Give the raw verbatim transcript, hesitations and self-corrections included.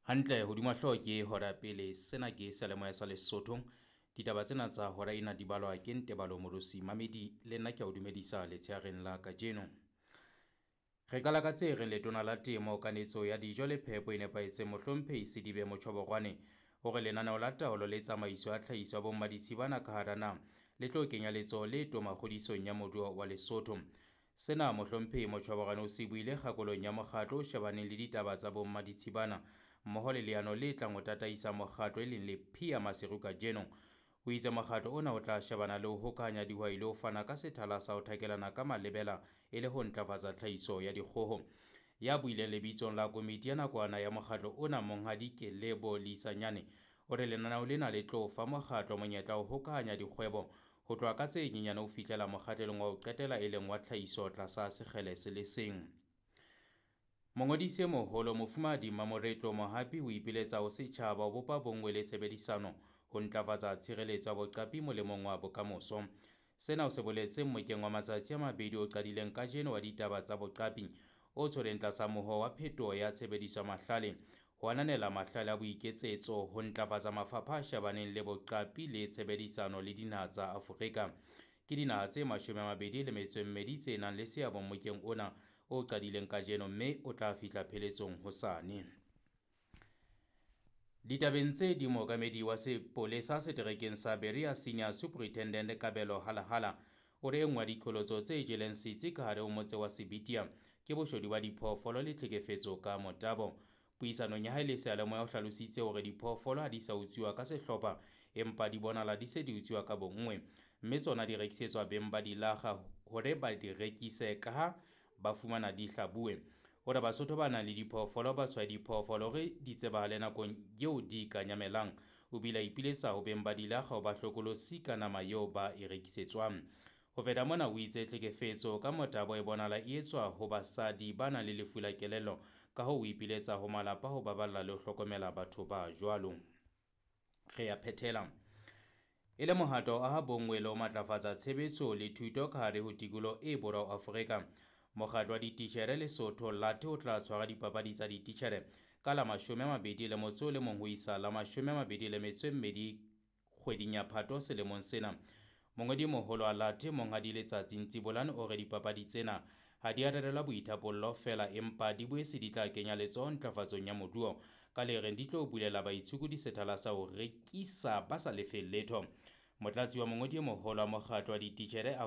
Hantle hodima hlooho ke hora pele. Sena ke seyalemoya sa Lesotho. Ditaba tsena tsa hora ena di balwa ke Ntebalo Morosi Mamedi le nna ke a o dumedisa letsheareng la kajeno. Re qala ka tse reng letona la temo, kanetso ya dijo le phepo e nepahetseng Mohlomphehi Sedibe Motjhoborwane o re lenaneo la taolo le tsamaiso ya tlhahiso ya bommaditshibana ka hara naha le tlo kenya letsoho le toma kgodisong ya moruo wa Lesotho. Sena Mohlomphehi Motjhoborwane o se buile kgakolong ya mokgatlo o shebaneng le ditaba tsa bommaditshibana mmoho le leano le tlang ho tataisa mokgatlo e leng le Phia Maseru kajeno. O itse mokgatlo ona o tla shebana le ho hokahanya dihwai le ho fana ka sethala sa ho thakelana ka malebela e le ho ntlafatsa tlhahiso ya dikgoho. Ya buileng lebitsong la komiti ya nakwana ya mokgatlo ona Monghadi Kelebo Leisanyane o re lenaneo lena le tlo fa mokgatlo monyetla wa ho hokahanya dikgwebo ho tloha ka tse nyenyane ho fihlela mokgahlelong wa ho qetela e leng wa tlhahiso tlasa sekgele se le seng. Mongodisi e moholo Mofumahadi Mamoretlo Mohapi o ipiletsa ho setjhaba ho bopa bonngwe le tshebedisano ho ntlafatsa tshireletso ya boqapi molemong wa bokamoso. Sena o se boletse mmokeng wa matsatsi a mabedi o qadileng kajeno wa ditaba tsa boqapi o tshwereng tlasa moho wa phetoho ya tshebediso ya mahlale, ho ananela mahlale a boiketsetso, ho ntlafatsa mafapha a shebaneng le boqapi le tshebedisano le dinaha tsa Afrika. Ke dinaha tse mashome a mabedi le metso e mmedi tse nang le seabo mmokeng ona o qadileng kajeno mme o tla fihla pheletsong hosane. Ditabeng tse ding, mookamedi wa sepolesa seterekeng sa Berea Senior Superintendent Kabelo Halahala o re e nngwe ya diqholotso tse jeleng setsi ka hare ho motse wa Sebitia ke boshodu ba diphoofolo le tlhekefetso ka motabo. Puisanong ya hae le seyalemoya o hlalositse hore diphoofolo ha di sa utsuwa ka sehlopha empa di bonahala di se di utsuwa ka bonngwe, mme tsona di rekisetswa beng ba dilaga hore ba di rekise kaha ba fumana di hlabuwe. O re Basotho ba nang le diphoofolo ba tshwaye diphoofolo hore di tsebahale nakong eo di ka nyamelang. O bile a ipiletsa ho beng ba dilaga ho ba hlokolosi ka nama eo ba e rekisetswang. Ho feta mona o itse tlhekefetso ka motabo e bonahala e etswa ho basadi ba nang le lefu la kelello, ka hoo o ipiletsa ho malapa ho baballa le ho hlokomela batho ba jwalo. Re a phethela. E le mohato wa aha bonngwe le ho matlafatsa tshebetso le thuto ka hare ho tikoloho e borwa ho Afrika, mokgatlo wa dititjhere Lesotho L A T o tla tshwara dipapadi tsa dititjhere ka la mashome a mabedi le motso o le mong ho isa la mashome a mabedi le metso e mmedi kgweding ya Phato selemong sena. Mongodi moholo wa L A T Monghadi Letsatsi Ntsibolane o re dipapadi tsena ha di a rerelwa boithapollo feela empa di boetse di tla kenya letsoho ntlafatsong ya moruo ka le reng di tlo bulela baitshokodi sethala sa ho rekisa ba sa lefeng letho. Motlatsi wa mongodi e moholo wa mokgatlo wa dititjhere